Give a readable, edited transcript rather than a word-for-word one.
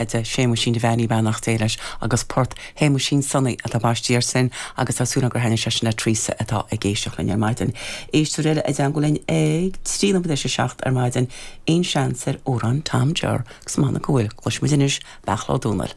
De Shéamuisín Devaney, beannacht Dé leis, agus port Shéamuisín Sonaí atá baistí air sin agus tá súil agam gur thaitnigh sé sin le Teresa atá ag éisteacht linn ar maidin. Éisteoir eile i dteangmháil linn ag 7 nóiméad théis 7 ar maidin, aon seans ar amhrán Tom Jer agus m'anam go bhfuil, cloisfimid anois Bealach Ó Dónaill.